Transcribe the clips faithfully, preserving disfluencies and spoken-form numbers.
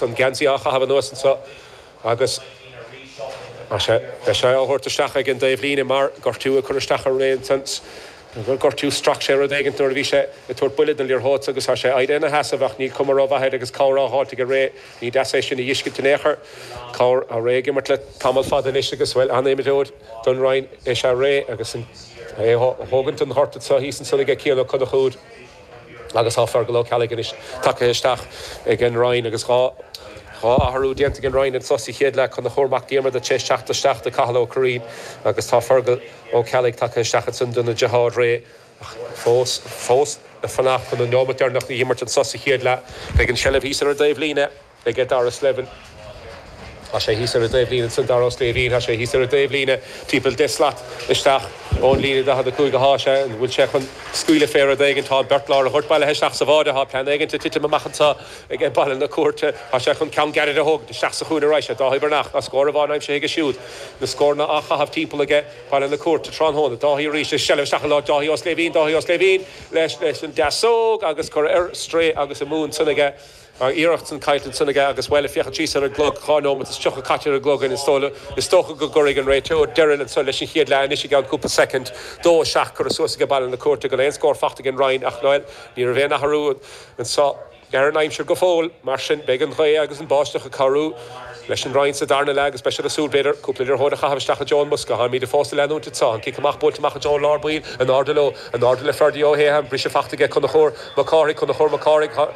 An geansaí á chaitheamh anuas anseo agus beidh sé á thabhairt isteach ag an dtaobhlíne mar gortú a chur isteach ar Ray ansan. Gortú strac sé rud éigin nuair a bhí sé ag tabhairt buille don liathróid agus tá sé éirithe ina sheasamh ach níl cuma rómhaith air agus cabhair á fháilt ag Ray. Ní deas é sin a fheiscint in aon chor. Cabhair á Ray ag imirt le tamall fada anois agus bhuel an-imreoir don Rinn is ea Ray agus an é a thógaint an ghort anseo thíos ansan aige Cian Ó Conchúir. Agus tá Fergal Ó Ceallaigh anois tagtha isteach ag an Rinn agus dhá dhá athrú déanta ag an Rinn anseo sa chéad leath Conchúr Mac Diarmada tar éis teacht isteach do Cathal Ó Curraoin agus tá Fergal Ó Ceallaigh tagtha isteach ansan dona deartháir Ray ach fós fós ag fanacht chun an neomat deireanach a imirt anseo sa chéad leath. Beidh an seilbh thíos ar an dtaobhlíne ag Dara Slevin. Tá sé thíos ar an dtaobhlíne ansan Dara Ó Sléibhín, tá sé thíos ar an dtaobhlíne timpeall deich slat isteach ón líne daichead a cúig atá sé, an bhfuil sé chun scaoileadh fé rud éigin, tá beirt lár an ghoirt bailithe isteach sa bháide, tá plean éigin ag titim amach anseo ag Baile na Cúirte, tá sé chun ceann gairid a thógaint isteach sa chúinne arís, Dáithí Breathnach, tá scór amháin aimsithe aige siúd, na scóranna á chaitheamh timpeall aige Baile na Cúirte tráthnóna, Dáithí arís, seilbh isteach i lámh Dáithí Ó Sléibhín, Dáithí Ó Sléibhín leis leis an deasóg agus curtha ar strae agus amú ansan aige. An iarracht san caillte ansan aige agus bhuel, ag féachaint síos ar an gclog, dhá nóiméad is tríocha caite ar an gclog is dócha go gcuirfidh an réiteoir deireadh ansan leis an chéad leath anois i gceann cúpla soicind. Dó a seacht curtha suas aige Baile na Cúirte gan aon scór fachta ag an Rinn ach bhuel, ní raibh aon athrú anso ar an aimsir go fóill. Mar sin, beidh an ghaoth agus an báisteach ag cabhrú leis an Rinn sa darna leath agus beidh siad ag súil, b'fhéidir, cúpla liathróid a chaitheamh isteach i dtreo an mbosca. Táimid fós ag leanúint anseo. An cic amach buailte amach i dtreo lár baill, in airde leo, in airde le Ferdy Ó hAodha, an briseadh fachta aige Conchúr Mac Cárthaigh, Conchúr Mac Cárthaigh,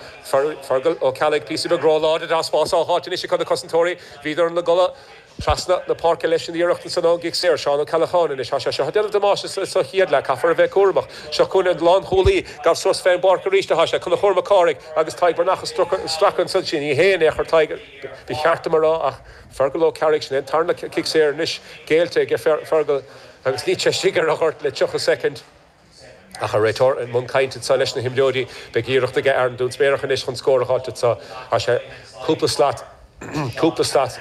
Fergal Ó Ceallaigh, píosa beag róláidir, tá spás á fháilt anois ag na cosantóirí, bhíodar ina gcodladh. Trasna na páirce leis an iarracht ansan ón gcic saor. Seán Ó Ceallacháin anois. Tá sé seo ag déanamh damáiste sa chéad leath. Caithfear a bheith cúramach. Seo chugainn an lánchúlaí. Gabh suas fén bpáirc arís atá sé. Conchúr Mac Cárthaigh agus Tadhg Breathnach ag stracadh ansan. Sin ní hé in aon chor Tadhg, ba cheart dom a rá, ach Fergal Ó Cearraigh. Sin é an tarna cic saor anois géillte aige Fergal agus níl sé istigh ar an ghort le tríocha soicind. Ach an réiteoir i mbun cainte anseo leis na himreoirí, beidh iarracht aige Aaron Dún Spéarach anois chun scór a fháilt anseo. Tá sé cúpla slat, cúpla slat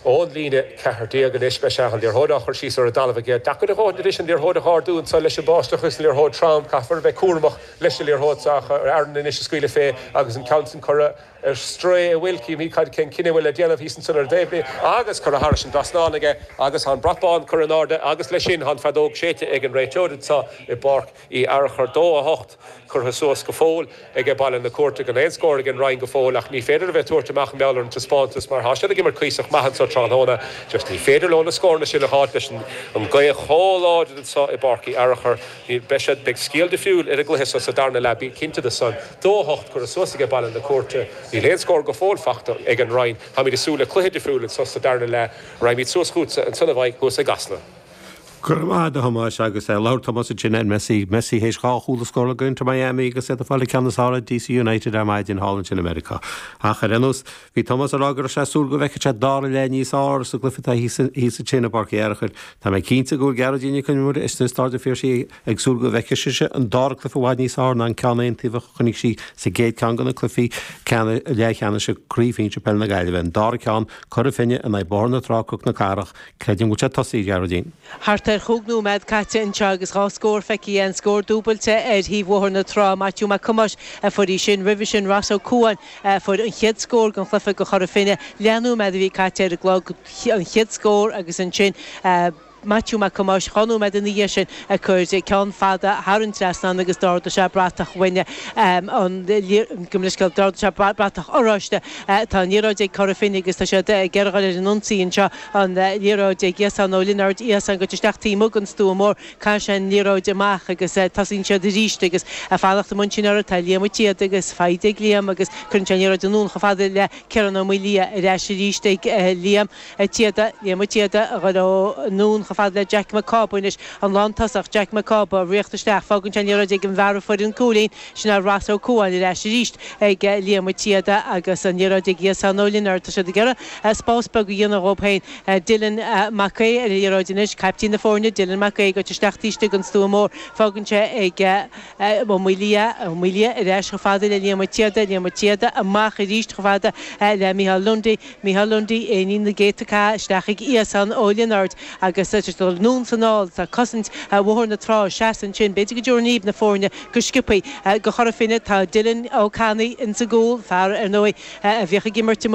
ón líne ceathair déag anois. Beidh sé an liathróid á chur síos ar an dtalamh aige. Deacair a dhóthain anois an liathróid a ardú anseo leis an báisteach agus an liathróid trom. Caithfear a bheith cúramach leis an liathróid seo ach Aaron anois ag scaoileadh fé agus an ceann sin curtha ar strae an bhfuil, címid cad cén cinneadh a bhfuil le déanamh thíos ansan ar an dtaobh agus curtha thairis an dtrasnán aige agus tá an brat bán curtha in airde agus leis sin tá an feadóg séidte ag an réiteoir anseo i bPáirc Uí Fhearchair. Dó a hocht curtha suas go fóill ag Baile na Cúirte gan aon scór ag an Rinn go fóill ach ní féidir a bheith ag tabhairt amach i ngeall ar an taispeántas mar tá siad ag imirt cuíosach maith anseo tráthnóna just ní féidir leo na scóranna sin a fháilt leis an gaoth chomh láidir anseo i bPáirc Uí Fhearchair. Beidh siad, beidh scéal difriúil ar an gcluiche seo sa darna leath, bí cinnte de san. Dó a hocht curtha suas ag Baile na Cúirte. Níl aon scór go fóill fachta ag an Rinn. Táimid ag súil le cluiche difriúil anseo sa darna leath. Raghaimid suas chugatsa ansan a Mhaidhc thuas i gCasla. Go raibh maith agat a Thomáis agus labhair Tomás ansin ar Messi. Messi théis dhá chúl a scóráil do Inter Miami agus iad ag fáil an ceann is fearr ar DC United ar maidin thall ansin i Meiriceá. Ach ar aon nós, bhí Tomás ag rá go raibh sé ag súil go bhfeicfeadh sé dara leath níos fearr sa gcluiche atá thíos ansin i bPáirc Uí Fhearchair. Tá mé cinnte go bhfuil Gearóidín Nic Con Iomaire istigh i Staid an Phiarsaigh ag súil go bhfeicfidh sise an dara cluiche i bhfad níos fearr ná an ceann aontaobhach a chonaic sí sa gcéad ceann de na cluichí leathcheannais Craobh Shinsir Peile na Gaillimhe, an dara ceann, Cora Finne in aghaidh Bóthar na Trá, Cnoc na Cathrach. Creidim go bhfuil sé tosaithe, a Ghearóidín. Thart ar chúig nóiméad caite anseo agus dhá scór feicthe, an scór dúbailte ar thaobh Bhóthar na Trá, Maitiú Mac Thomáis a fuair í sin. Roimhe sin Ross Ó Cuain a fuair an chéad scór den chluiche do Chora Finne. Leathnóiméad a bhí caite ar an gclog, an chéad scór agus ansin Maitiú Mac Thomáis dhá nóiméad ina dhiaidh sin ag cur ceann fada thar an trasnán agus d'ardaigh sé bratach bhainne an gabh mo leithscéal, d'ardaigh sé bratach oráiste. Tá an liathróid ag Cora Finne agus tá siad ag iarraidh dhul ar an ionsaí anseo. An liathróid ag Iasán Ó Lionáird, Iasán goite isteach taobh amuigh den stua mór. Caitheann sé an liathróid amach agus tosaíonn siad arís agus ag fanacht amuigh ansin orthu tá Liam Ó Téada agus faighte ag Liam agus cuireann sé an liathróid anonn chomh fada le Ciarán Ó Maoildhia ar ais arís ag Liam Ó Téada, Liam Ó Téada a dhul anonn chomh fada le Jack Mac Cába anois, an lántosach Jack Mac Cába ag ritheacht isteach, fágann sé an liathróid ag an bhfear a fuair an cúilín, sin é Ross Ó Cuain ar ais arís ag Liam Ó Téada agus an liathróid ag Iasán Ó Lionáird. Tá siad ag iarraidh spás beag a dhéanamh dhóibh féin. Dylan Mac Aodha ar an liathróid anois, caiptín na foirne, Dylan Mac Aodha, goite isteach taobh istigh den stua mór. Fágann sé ag Ó Maoildhia, Ó Maoildhia ar ais chomh fada le Liam Ó Téada, Liam Ó Téada amach arís chomh fada le Micheál Lundy, Micheál Lundy, éinín na gcéadta cath, isteach ag Iasán Ó Lionáird agus tá anonn is anall tá cosaint Bhóthar na Trá seasta ansin b'fhéidir go dtabharfaidh na foirne go sciobtha do Chora Finne tá Dylan Ó Ceannaigh insa gcúl fear ar ndóigh a bhíodh ag imirt